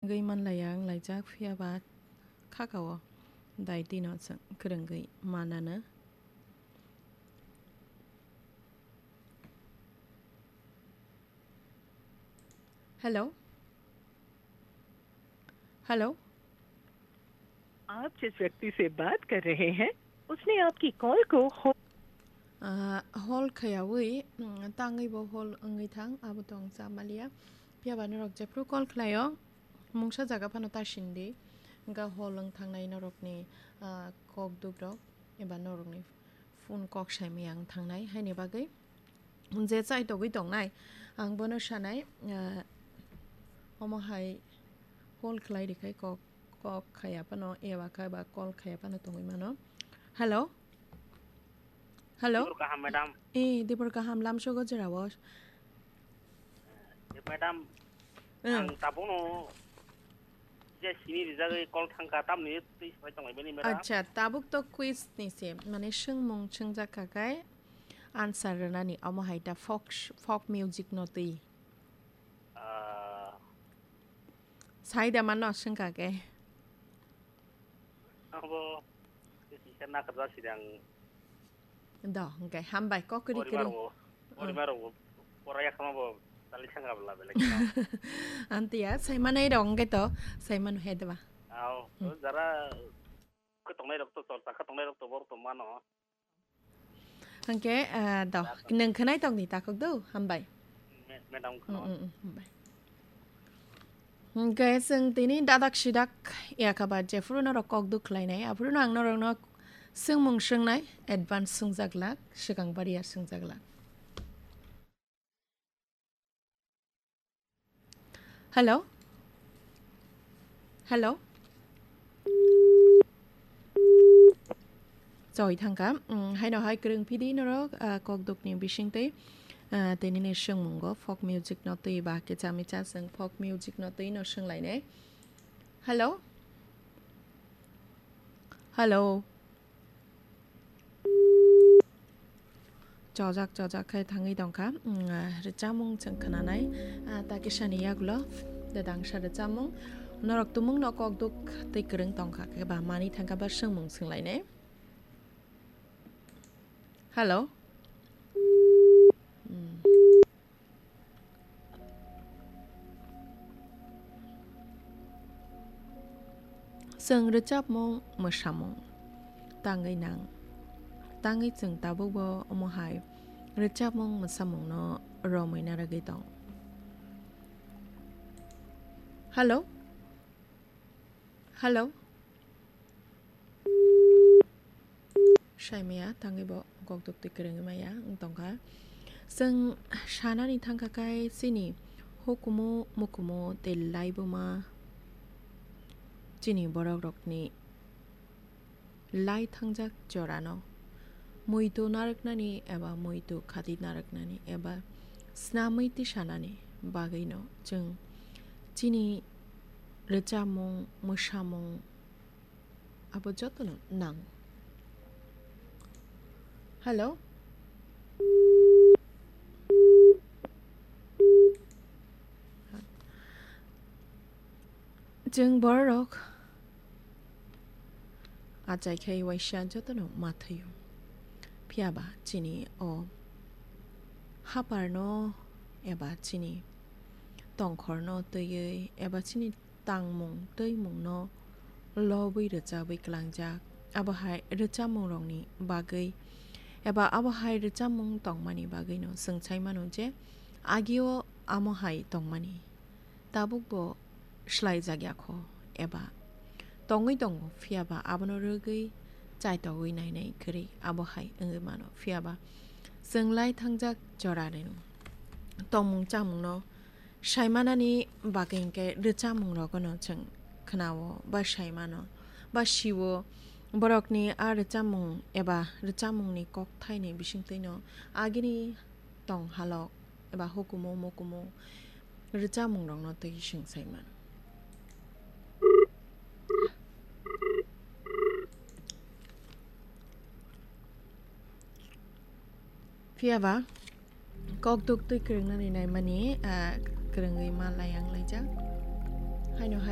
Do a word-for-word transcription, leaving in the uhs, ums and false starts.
Kwrwngwi manlaiya wng laijak, phiya ba khakao daitino chwng kwrwngwi manano. Hello? Hello? आप जिस व्यक्ति से बात कर रहे हैं, उसने आपकी कॉल को हो- Ah, hol khayawi, mm, tangwi bo hol wngwi thang, abo tong cha maliya. Phiya ba norok jephru call khlaio, mungsa jaga phano ta sindi. Wngkha hol wng thangnai norokni, ah, kok dukrok eba norokni phone kok saimaya wng thangnai, haini bagwi je chai togwi tongnai, ang bono sanai, ah, omo hai hol khlai rikhai kok, kok khaya phano, eba kha ba call khaya phano tongwi mano. Hello? Hello? Dibur kaham, madam. Eh, dibur kaham, lamsogo jera o. Eh, madam, ang tabukno je sini rijagwi call thangkha, tamni twi sai tonglaimani, madam. Acha, tabuk to quiz ni se, mane swngmung swngjak kha kai answer rwnani, omo hai ta folk, folk music no twi. Ah. Sai da mano swngkha ke. Abo kisa nakarjak sidang. Do, hwnkhe hambai, kokri kwrwi. Porima rok, porima rok, pora yakhama bo tali thangka bla belai kheno. Antiya, sai manai rok hwnkhe to, sai manu he deba. Ao, jara khe tongnai rok to, chorcha khe tongnai rok to, borok to mano. Hwnkhe, ah, do, nwng khwnai tongdi takhuk do, hambai. Me-, madam kheno. Mm, mm, mm, hambai. Hwnkhe chwng tini dadak sidak yakaba jephuru norok kok duk khlainai, aphuru no ang norokno swngmung swngnai, advance swngjak lak, swkang bariya swngjak lak. Hello? Hello? Choi thangkha. Mm, haino hai kwrwng phidi norok, ah, kokdukni bisingtwi, ah, tinini swngmungo folk music no twi ba kicha micha chwng folk music no twi no swnglainai. Hello? Hello? Chojak chojak khe thangwi tongkha, mm, ah, rwchapmung chwng khwnanai, ah, ta kisani yagulo dadangsa rwchapmung. Norok tumungno kokduk tei kwrwng tongkha khe ba manwi thangkha ba swngmung swnglainai. Hello? Mm. Chwng rwchapmung, mwsamung tangwi nang. Tangwi chwng tabukbo omo hai rwchapmung, mwsamungno romwi narwgwi tong. Hello? Hello? Saimaya tangwi bo kokduk twi kwrwngwi maya wng tongkha. Chwng sanani thangkha khe chini hukumu, mukumu tei laibuma chini borok rokni lai thangjak jorano muitu narwknani eba muitu khati narwknani eba snamwi tisanani bagwino chwng chini rwchapmung, mwsamung, abo jotono nango. Hello? Chwng bororok achai khai waisa jotono ma thwio. Phiya ba chini o haparno eba chini tongkhorno twiwi eba chini tangmung twimungno lobwi rwchabwi klangjak. Abo hai rwchapmungrokni bagwi eba abo hai rwchapmung tongmani bagwino chwng sai mano je agio amo hai tongmani tabukbo swlaijak ya kho eba tongwi tongo, phiya ba abono rwgwi chaitogwi nainai kwrwi abo hai wngwi mano. Phiya ba chwng lai thangjak jorani tongmung chamungno saimanani bagwi hinkhe rwchapmung rogono chwng khwnao ba saimano ba sio. Borokni a rwchapmung eba rwchapmungni kokthaini bisingtwino agini tong halok eba hukumu mukumu rwchapmungrokno twi swng sai mano. Phiya ba kokduk twi kwrwngnani naimani, ah, kwrwngwi ma layang laijak. Haino hai